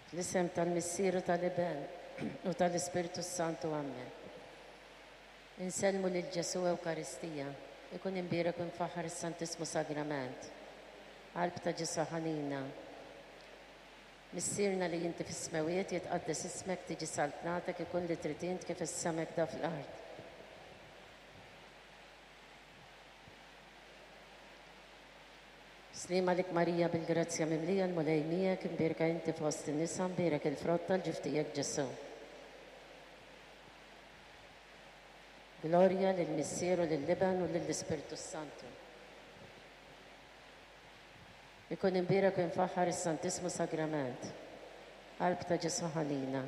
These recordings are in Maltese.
Fl-isem tal-Missier u tal-Iben u tal-Ispirtu s-Santu. Ammen. Insellmu lil Ġesù Ewkaristija, ikun imbierek u mfaħħar is-Santissmu Sagrament. Qalb ta' Ġesù ħanina. Missierna li inti fis-smewwiet, jitqaddes ismek, tiġi saltnatek, ikun li trid int kif is-sema hekk fl-art. Sliem għalik Marija bil-grazzja mimlija l-Mulej miegħek, imbierka inti fost in-nisa, mbierek il-frott tal-ġuf tiegħek Ġesù. Glorja lill-Missier u lill-Iben u lill-Ispirtu s-Santu. Ikun imbierek u imfaħħar is-Santissmu Sagrament. Qalb ta' Ġesù ħanina.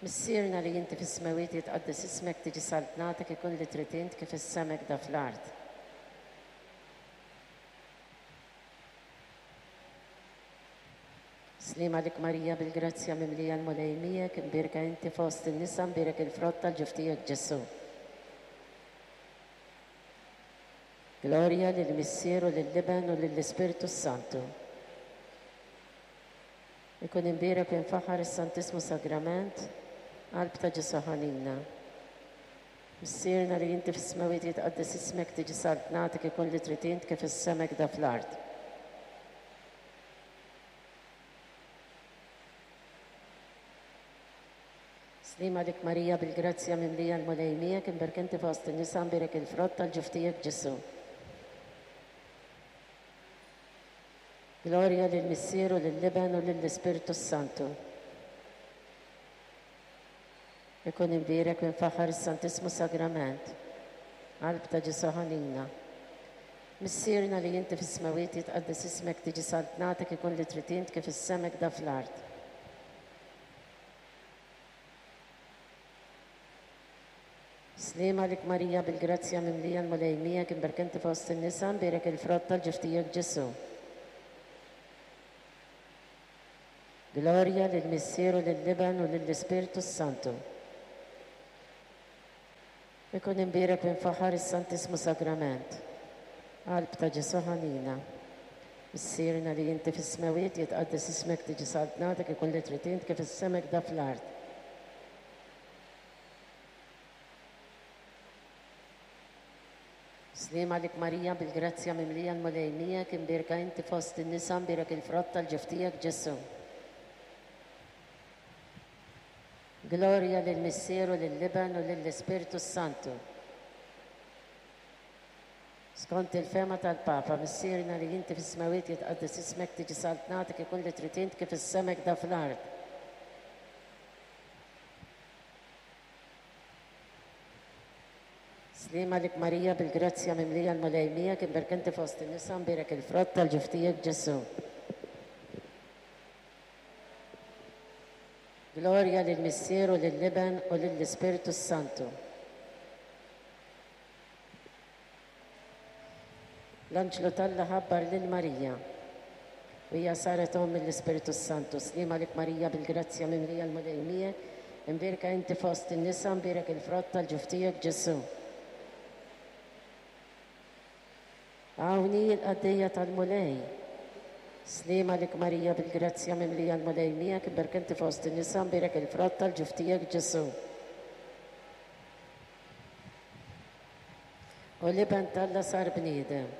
Missierna li inti fis-smewwiet jitqaddes ismek tiġi saltnatek ikun li trid int kif is-sema hekk fl-art. Sliem għalik Marija bil-grazzja mimlija l-Mulej miegħek, imbierka inti fost in-nisa, mbierek il-frott tal-ġuf tiegħek Ġesù. Glorja lill-Missier u lill-Iben u lill-Ispirtu s-Santu. Ikun imbierek u imfaħħar is-Santissmu Sagrament, qalb ta' Ġesù ħanina. Missierna li inti fis-smewwiet jitqaddes ismek tiġi saltnatek ikun li trid int kif is-sema hekk fl-art. Sliem għalik Marija bil-grazzja mimlija l-Mulej miegħek imbierka inti fost in-nisa mbierek il-frott tal-ġuf tiegħek Ġesù. Glorja lill-Missier u lill-Iben u lill-Ispirtu s-Santu. Ikun imbierek u imfaħħar is-Santissmu Sagrament. Qalb ta' Ġesù ħanina. Missierna li inti fis-smewwiet jitqaddes ismek tiġi saltnatek ikun li trid int kif is-sema hekk fl-art. Sliem għalik Marija bil-grazzja mimlija l-Mulej miegħek imbierka inti fost in-nisa mbierek il-frott tal-ġuf tiegħek Ġesù. Glorja lill-Missier u lill-Iben u lill-Ispirtu s-Santu. Ikun imbierek u imfaħħar is-Santissmu Sagrament. Qalb ta' Ġesù ħanina. Missierna li inti fis-smewwiet jitqaddes ismek tiġi saltnatek ikun li trid int kif is-sema hekk fl-art. Sliem għalik Marija bil-grazzja mimlija l-Mulej miegħek imbierka inti fost in-nisa mbierek il-frott tal-ġuf tiegħek Ġesù. Glorja lill-Missier u lill-Iben u lill-Ispirtu s-Santu. Skont il-fehma tal-Papa, Missierna li inti fis-smewwiet jitqaddes ismek tiġi saltnatek ikun li trid int kif is-sema hekk fl-art. Sliem għalik Marija bil-grazzja mimlija l-Mulej miegħek imbierka inti fost in-nisa mbierek il-frott tal-ġuf tiegħek Ġesù. Glorja lill-Missier u lill-Iben u lill-Ispirtu s-Santu. L-anġlu t'Alla ħabbar lil Marija u hija saret omm mill-Ispirtu s-Santu. Sliem għalik Marija bil-grazzja mimlija l-Mulej miegħek, imbierka inti fost in-nisa, mbierek il-frott tal-ġuf tiegħek Ġesù. Hawn hi l-qaddejja tal-Mulej. Sliem għalik Marija bil-grazzja mimlija l-Mulej miegħek, imbierka inti fost in-nisa, mbierek il-frott tal-ġuf tiegħek Ġesù. U l-Iben t'Alla sar bniedem.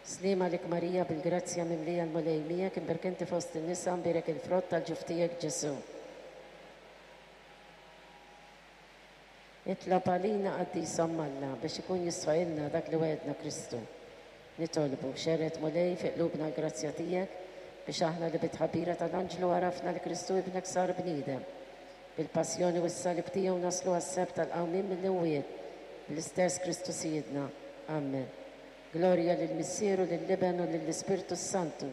Sliem għalik Marija bil-grazzja mimlija l-Mulej miegħek, imbierka inti fost in-nisa, mbierek il-frott tal-ġuf tiegħek Ġesù. Itlob għalina qaddisa Omm Alla biex ikun jistħoqilna dak li wegħedna Kristu. Nitolbu, xerred Mulej fi qlubna l-grazzja tiegħek biex aħna li bit-tħabbira tal-anġlu għarafna li Kristu ibnek sar bniedem. Bil-passjoni u s-salib tiegħu naslu għas-sebħ tal-qawmien mill-imwiet, bl-istess Kristu Sidna. Amen. Glorja lill-Missier u lill-Iben u lill-Ispirtu s-Santu.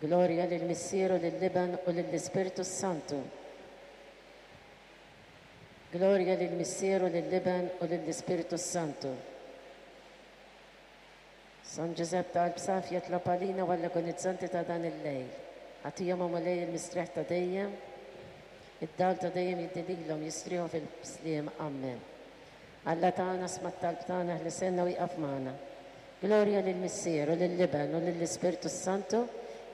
Glorja lill-Missier u lill-Iben u lill-Ispirtu s-Santu. Glorja lill-Missier u lill-Iben u lill-Ispirtu s-Santu. San Ġużepp ta' qalb safja itlob għalina u għall-agonizzanti ta' dan il-lejl. Agħtihom, o Mulej, il-mistrieħ ta' dejjem, id-dawl ta' dejjem jiddi lilhom, jistrieħu fil-sliem. Ammen. Alla tagħna, sma' t-talb tagħna, eħliselna u ieqaf magħna. Glorja lill-Missier u lill-Iben u lill-Ispirtu s-Santu,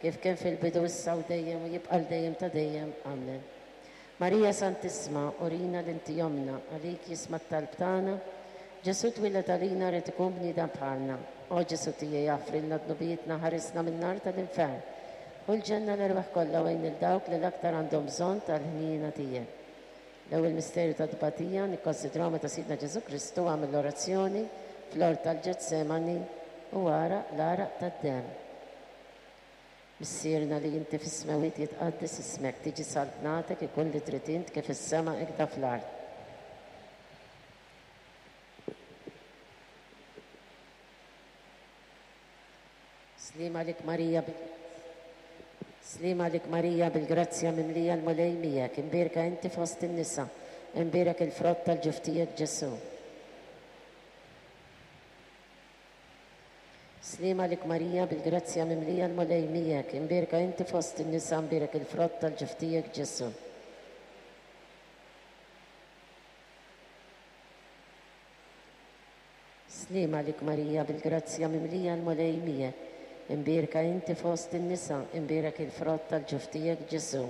Kif kien fil-bidu issa u dejjem u jibqa' għal dejjem ta' dejjem. Amen. Marija Santissma, urina li inti ommna, għalik jisma' t-talb tagħna. Ġesù twieled għalina ried ikun bniedem bħalna. O Ġesù tiegħi aħfrilna dnubietna ħarisna min-nar tal-infern. Ħu l-ġenna l-erwieħ kollha u għin lil dawk li l-aktar għandhom bżonn tal-ħniena tiegħek. L-ewwel misteru ta' tbatija nikkonsidraw meta Sidna Ġesù Kristu għamel l-orazzjoni fl-ort tal-Ġetsemani u għaraq l-għaraq tad-demm. Missierna li inti fis-smewwiet jitqaddes ismek, tiġi saltnatek, ikun li trid int kif fis-sema hekda fl-art. Sliem għalik Marija bil Sliem għalik Marija bil-grazzja mimlija l-Mulej miegħek, imbierka inti fost in-nisa, imbierek il-frott tal-ġuf tiegħek Ġesù. Sliem għalik Marija bil-grazzja mimlija l-Mulej miegħek, imbierka inti fost in-nisa, imbierek il-frott tal-ġuf tiegħek Ġesù. Sliem għalik Marija bil-grazzja mimlija l-Mulej miegħek, imbierka inti fost in-nisa, imbierek il-frott tal-ġuf tiegħek Ġesù.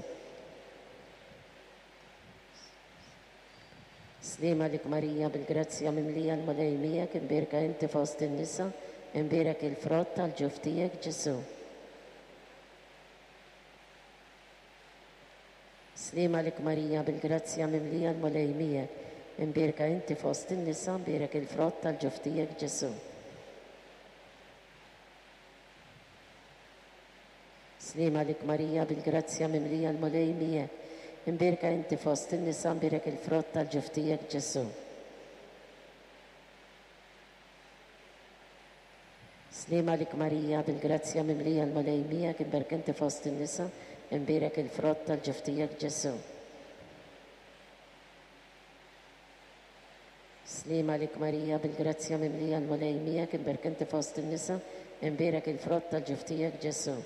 Sliem għalik Marija bil-grazzja mimlija l-Mulej miegħek, imbierka inti fost in-nisa, imbierek il-frott tal-ġuf tiegħek Ġesù. Sliem għalik Marija bil-grazzja mimlija l-Mulej miegħek, imbierka inti fost in-nisa, imbierek il-frott tal-ġuf tiegħek Ġesù. Sliem għalik Marija bil-grazzja mimlija l-Mulej miegħek, imbierka inti fost in-nisa, imbierek il-frott tal-ġuf tiegħek Ġesù. Sliem għalik Marija, bil-grazzja mimlija l-Mulej miegħek, imbierka inti fost in-nisa, imbierek il-frott tal-ġuf tiegħek Ġesù. Sliem għalik Marija, bil-grazzja mimlija l-Mulej miegħek, imbierka inti fost in-nisa, imbierek il-frott tal-ġuf tiegħek Ġesù.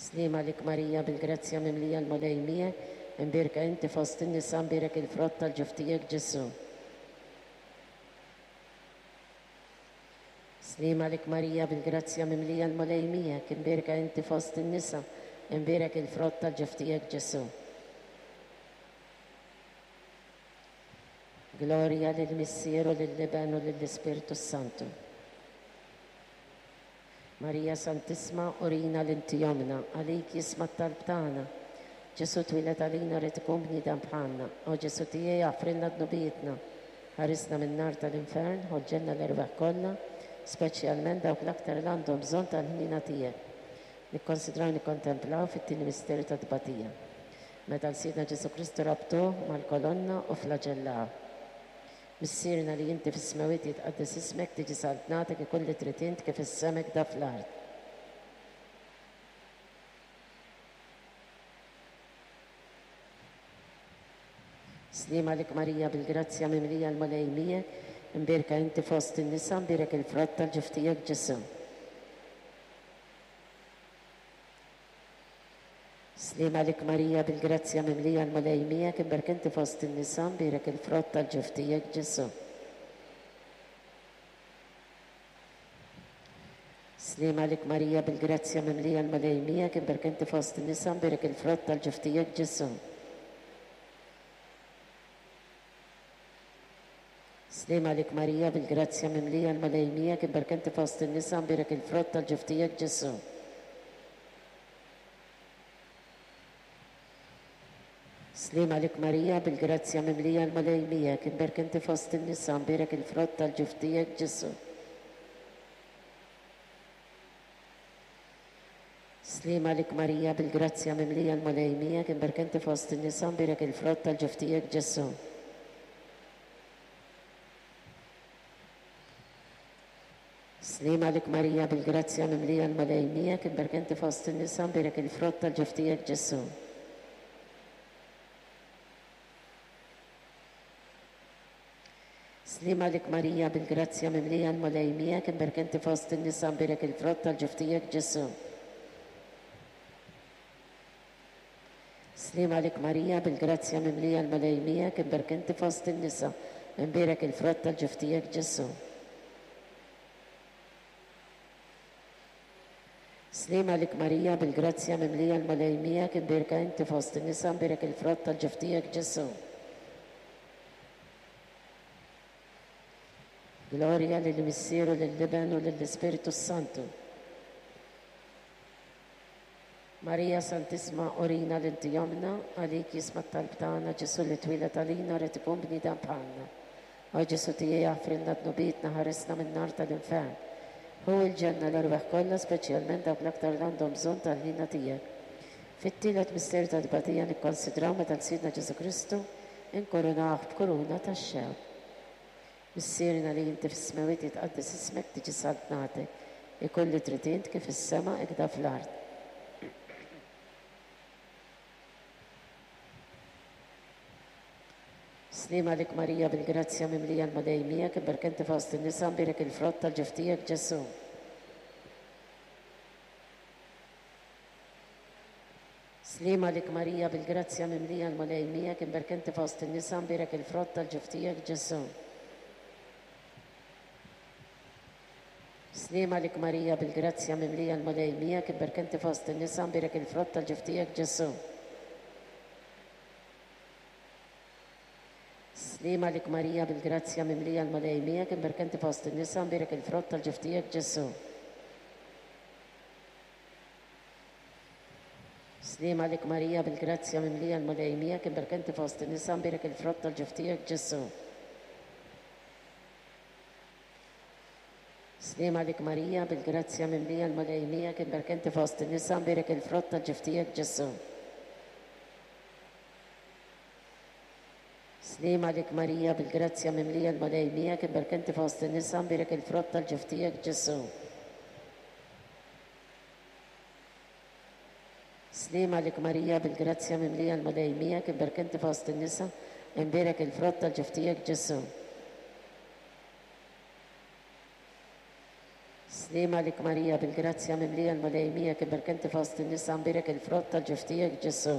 Sliem għalik Marija, bil-grazzja mimlija l-Mulej miegħek, imbierka inti fost in-nisa, imbierek il-frott tal-ġuf tiegħek Ġesù. Sliem għalik Marija, bil-grazzja mimlija l-Mulej miegħek, imbierka inti fost in-nisa, imbierek il-frott tal-ġuf tiegħek Ġesù. Glorja lill-Missier u lill-Iben u lill-Ispirtu s-Santu. Marija Santissma, urina li inti ommna, għalik jisma' t-talb tagħna. Ġesù twieled għalina ried ikun bniedem bħalna. O Ġesù tiegħi aħfrilna dnubietna. Ħarisna min-nar tal-infern, ħu l-ġenna l-erwieħ kollha, speċjalment dawk l-aktar li għandhom bżonn tal-ħniena tiegħek. Nikkonsidraw nikkontemplaw fit-tieni misteru tat-tbatija. Meta 'l Sidna Ġesù Kristu rabtuh mal-kolonna u flaġellawh. Missierna li inti fis-smewwiet jitqaddes ismek, tiġi saltnatek, ikun li trid int kif fis-sema hekda fl-art. Sliem għalik Marija bil-grazzja mimlija l-Mulej miegħek, imbierka inti fost in-nisa, mbierek il-frott tal-ġuf tiegħek Ġesù. Sliem għalik Marija bil-grazzja mimlija l-Mulej miegħek imberk inti fost in-nisa mbierek il-frott tal-ġuf tiegħek Ġesù. Sliem għalik Marija bil-grazzja mimlija l-Mulej miegħek imberk inti fost in-nisa mbierek il-frott tal-ġuf tiegħek Ġesù. Sliem għalik Marija bil-grazzja mimlija l-Mulej miegħek imberk inti fost in-nisa mbierek il-frott tal-ġuf tiegħek Ġesù. Sliem għalik Marija, bil-grazzja mimlija l-Mulej miegħek, imberk inti fost in-nisa, mbierek il-frott tal-ġuf tiegħek Ġesù. Sliem għalik Marija, bil-grazzja mimlija l-Mulej miegħek, imberk inti fost in-nisa, mbierek il-frott tal-ġuf tiegħek Ġesù. Sliem għalik Marija bil-grazzja mimlija l-Mulej miegħek, imberk inti fost in-nisa, mbierek il-frott tal-ġuf tiegħek Ġesù. Sliem għalik Marija bil-grazzja mimlija l-Mulej miegħek, imberk inti fost in-nisa, mbierek il-frott tal-ġuf tiegħek Ġesù. Sliem għalik Marija bil-grazzja mimlija l-Mulej miegħek, imberk inti fost in-nisa, imbierek il-frott tal-ġuf tiegħek Ġesù. Sliem għalik Marija, bil-grazzja mimlija l-Mulej miegħek, imbierka inti fost in-nisa, mbierek il-frott tal-ġuf tiegħek Ġesù. Glorja lill-Missier u lill-Iben u lill-Ispirtu s-Santu. Marija Santissma urina li inti ommna, għalik jisma' t-talb tagħna, Ġesù li twieled għalina ried ikun bniedem bħalna. O Ġesù tiegħi aħfrilna dnubietna ħarisna min-nar tal-infern. Ħu l-ġenna l-erwieħ kollha speċjalment dawk l-aktar li għandhom bżonn tal-ħniena tiegħek. Fit-tielet misteru ta' tbatija nikkonsidraw meta 'l Sidna Ġesù Kristu inkurunawh b'kuruna tax-xewk. Missierna li inti fis-smewwiet jitqaddes ismek tiġi saltnatek, ikun li trid int kif fis-sema ikda fl-art. Sliem għalik Marija bil-grazzja mimlija l-Mulej miegħek imberka inti fost in-nisa mbierek il-frott tal-ġuf tiegħek Ġesù. Sliem għalik Marija bil-grazzja mimlija l-Mulej miegħek imberka inti fost in-nisa mbierek il-frott tal-ġuf tiegħek Ġesù. Sliem għalik Marija bil-grazzja mimlija l-Mulej miegħek imberka inti fost in-nisa mbierek il-frott tal-ġuf tiegħek Ġesù. Sliem għalik Marija bil-grazzja mimlija l-Mulej miegħek imberka inti fost in-nisa mbierek il-frott tal-ġuf tiegħek Ġesù. Sliem għalik Marija bil-grazzja mimlija l-Mulej miegħek imberka inti fost in-nisa mbierek il-frott tal-ġuf tiegħek Ġesù. Sliem għalik Marija bil-grazzja mimlija l-Mulej miegħek imberka inti fost in-nisa mbierek il-frott tal-ġuf tiegħek Ġesù. Sliem għalik Marija bil-grazzja mimlija l-Mulej miegħek imberka inti fost in-nisa mbierek il-frott tal-ġuf tiegħek Ġesù. Sliem għalik Marija bil-grazzja mimlija l-Mulej miegħek imberka inti fost in-nisa imbierek il-frott tal-ġuf tiegħek Ġesù. Sliem għalik Marija bil-grazzja mimlija l-Mulej miegħek imberka inti fost in-nisa mbierek il-frott tal-ġuf tiegħek Ġesù.